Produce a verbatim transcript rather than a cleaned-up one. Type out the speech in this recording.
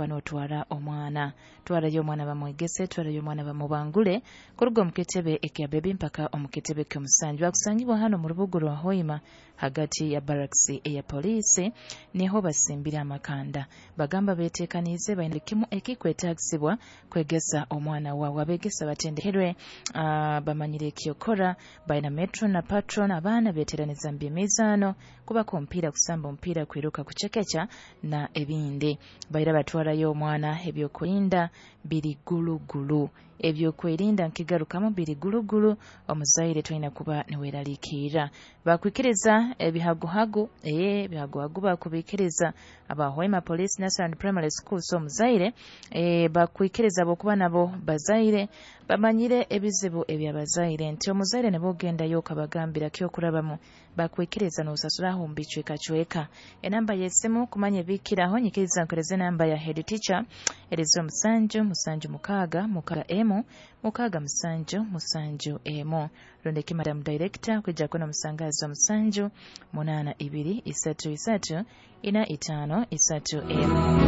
kuba n'otwara omwana. Twarayo omwana bamwegese, twarayo omwana bamubangule kuruga omu kitebe ekya bebi mpaka omu kitebe ky'omusanju. Bakusangibwa hano mu rubuga rwa Hoima, hagati ya barracks eya poliisi, niho basimbire amakanda. Bagamba beteekaniize, baine buli kimu ekikwetaagisibwa kwegesa omwana waawe. Abeegesa batendekerwe, uh, bamanyire ekyokora, baina metron na patron. Abaana beteraniza mu by'emizaano, kubaka omupiira, kusamba omupiira, kwiruka, kucekeca na ebindi. Baira batwarayo omwana, ebyokwerinda biri gulugulu. Ebyokwerinda nkigarukamu, biri gulugulu. Omuzaire tolina kuba niweeraliikirra. Bakwikiriza ebihaguhagu, ee ebihaguhagu bakubikiriza aba Hoima Police Nursery and Primary School. So omuzaire, ee bakwikiriza bokuba nabo bazaire bamanyire ebizibu ebyabazaire, nti omuzaire nibwogendayo okabagambira kyokurabamu, bakwikiriza n'osasuraho mu bicwekacweka. Enamba y'esimu kumanya ebikiraho, nyikiriza nkoreze enamba ya head teacher, erizo musanju musanju mukaaga mukaaga emu mukaaga musanju musanju emu, rondeki madam director kwijja kuno musangazo musanju munaana ibiri isatu isatu ina itaano isatu emu.